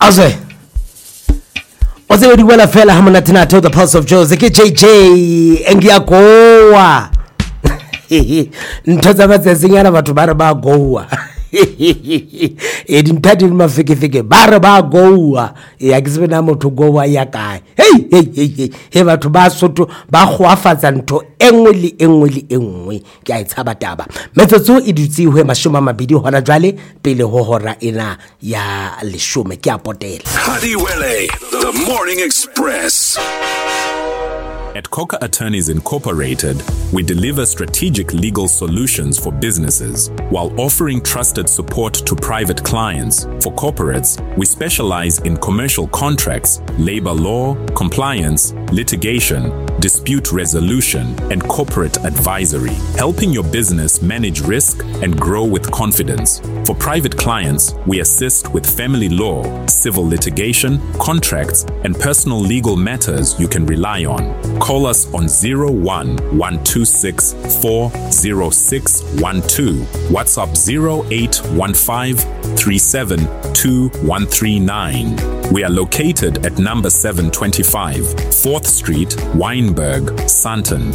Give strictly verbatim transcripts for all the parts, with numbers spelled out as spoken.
Azwe o tsebe di wela fela ha monate the Pulse of Jozi ke J J ngiyagowa. Ntho tsa matsatsinyana, batho ba re ba goa e dintho di le mafekefeke, ba re ba goa. E a ke tsebe na motho goa ya kae. Hei hei hei hei he, batho ba Sotho ba goafatsa ntho e nngwe le e nngwe le e nngwe. Ke a e tshaba taba. Metsotso e dutse ho mashome a mabedi hona jwale pele ho hora ena ya leshome. Ke a potela. Hadiwele, the Morning Express. At Coca Attorneys Incorporated, we deliver strategic legal solutions for businesses while offering trusted support to private clients. For corporates, we specialize in commercial contracts, labor law, compliance, litigation, dispute resolution, and corporate advisory, helping your business manage risk and grow with confidence. For private clients, we assist with family law, civil litigation, contracts, and personal legal matters you can rely on. Call us on zero one one two six four zero six one two, WhatsApp zero eight one five three seven two one three nine. We are located at number seven twenty-five, fourth Street, Wynberg, Sandton.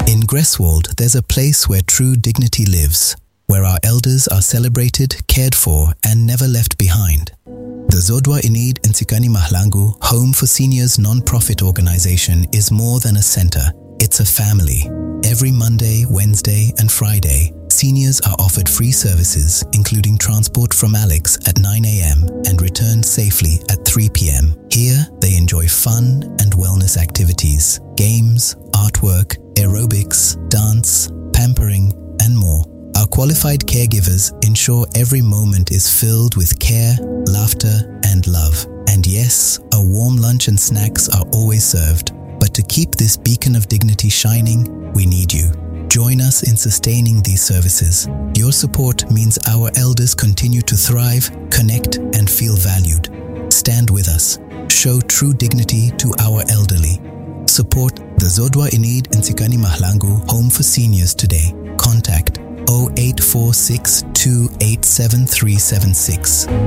In Greswold, there's a place where true dignity lives, where our elders are celebrated, cared for, and never left behind. The Zodwa Enid Ntsikani Mahlangu Home for Seniors non-profit organization is more than a center, it's a family. Every Monday, Wednesday, and Friday, seniors are offered free services, including transport from Alex at nine a m and returned safely at three p m. Here, they enjoy fun and wellness activities, games, artwork, aerobics, dance, pampering, and more. Our qualified caregivers ensure every moment is filled with care, laughter, and love. And yes, a warm lunch and snacks are always served. But to keep this beacon of dignity shining, we need you. Join us in sustaining these services. Your support means our elders continue to thrive, connect, and feel valued. Stand with us. Show true dignity to our elderly. Support the Zodwa Enid Ntsikani Mahlangu Home for Seniors today. Contact zero eight four six two eight seven three seven six.